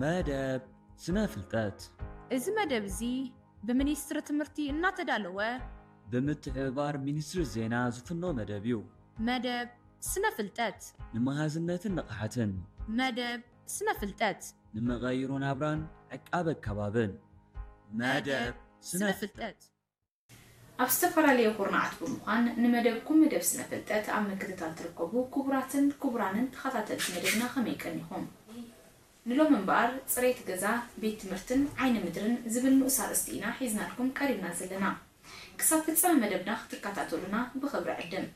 መደብ ስነ ፍልጠት። እዚ መደብ እዚ ብሚኒስትሪ ትምህርቲ እናተዳለወ ብምትሕብባር ሚኒስትሪ ዜና ዝፍኖ መደብ እዩ። መደብ ስነ ፍልጠት። ንመሃዝነትን ንቕሓትን። መደብ ስነ ፍልጠት። ንመቐይሮ ናብራን ዕቃበ ከባብን። መደብ ስነ ፍልጠት። ኣብ ዝተፈላለየ ኩርናዓት ብምዃን ንመደብኩም መደብ ስነ ፍልጠት ኣብ ምክትታል ትርከቡ ክቡራትን ክቡራንን ተኸታተልቲ መደብና ከመይ ቀኒኹም? ንሎም እምበኣር ጽሬት ገዛ፣ ቤት ትምህርትን ዓይኒ ምድርን ዝብል ንኡስ ኣርእስቲ ኢና ሒዝናልኩም ቀሪብና ዘለና። ክሳብ ፍጻመ መደብና ክትከታተሉና ብኽብሪ ዕድም።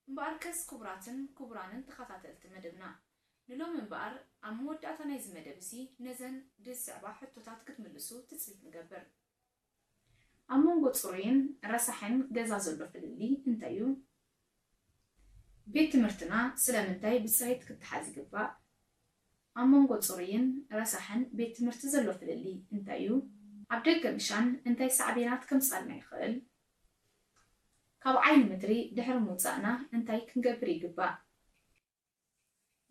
እምበኣርከስ ክቡራትን ክቡራንን ተኸታተልቲ መደብና፣ ንሎም እምበኣር ኣብ መወዳእታ ናይዚ መደብ እዚ ነዘን ብዝስዕባ ሕቶታት ክትምልሱ ትጽቢት ንገብር። ኣብ መንጎ ጽሩይን ረሳሕን ገዛ ዘሎ ፍልልይ እንታይ እዩ? ቤት ትምህርትና ስለምንታይ ብጽሬት ክተሓዝ ይግባእ? ኣብ መንጎ ጽሩይን ረሳሕን ቤት ትምህርቲ ዘሎ ፍልልይ እንታይ እዩ? ኣብ ደገ ምሻን እንታይ ሳዕቤናት ከምጻልና ይኽእል? ካብ ዓይኒ ምድሪ ድሕሪ ምውጻእና እንታይ ክንገብር ይግባእ?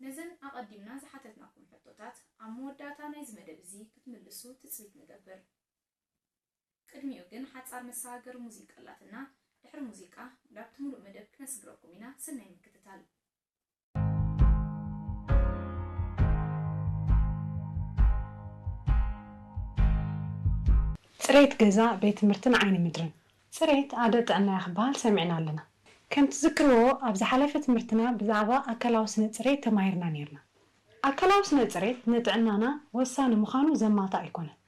ነዘን ኣቐዲምና ዝሓተትናኩም ሕቶታት ኣብ መወዳእታ ናይዚ መደብ እዚ ክትምልሱ ትጽቢት ንገብር። ቅድሚኡ ግን ሓጻር መሰጋገሪ ሙዚቃ ኣላትና። ድሕሪ ሙዚቃ ናብቲ ሙሉእ መደብ ክነስግረኩም ኢና። ሰናይ ምክትታል። ጽሬት ገዛ፣ ቤት ትምህርትን ዓይኒ ምድርን። ጽሬት ኣደ ጥዕናያ ክበሃል ሰሚዕና ኣለና። ከም ትዝክርዎ ኣብ ዝሓለፈ ትምህርትና ብዛዕባ ኣካላዊ ስነ ጽሬት ተማሂርና ኔርና። ኣካላዊ ስነ ጽሬት ንጥዕናና ወሳኒ ምዃኑ ዘማትእ ኣይኮነን።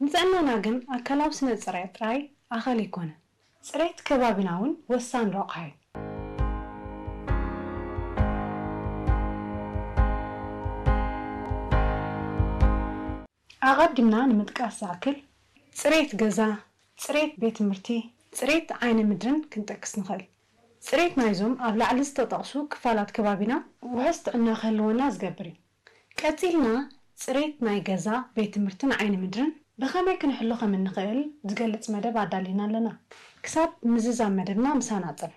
ንጥዕናና ግን ኣካላዊ ስነ ጽሬት ጥራይ ኣኸል ኣይኮነን። ጽሬት ከባቢና እውን ወሳኒ ረቑሓ እዩ። ኣቐዲምና ንምጥቃስ ዝኣክል፣ ጽሬት ገዛ፣ ጽሬት ቤት ትምህርቲ፣ ጽሬት ዓይኒ ምድርን ክንጠቅስ ንኽእል። ጽሬት ናይዞም ኣብ ላዕሊ ዝተጠቕሱ ክፋላት ከባቢና ውሑስ ጥዕና ክህልወና ዝገብር እዩ። ቀጺልና ጽሬት ናይ ገዛ፣ ቤት ትምህርትን ዓይኒ ምድርን ብኸመይ ክንሕሎ ከም እንኽእል ዝገልጽ መደብ ኣዳሊና ኣለና። ክሳብ ምዝዛም መደብና ምሳና ጽንሑ።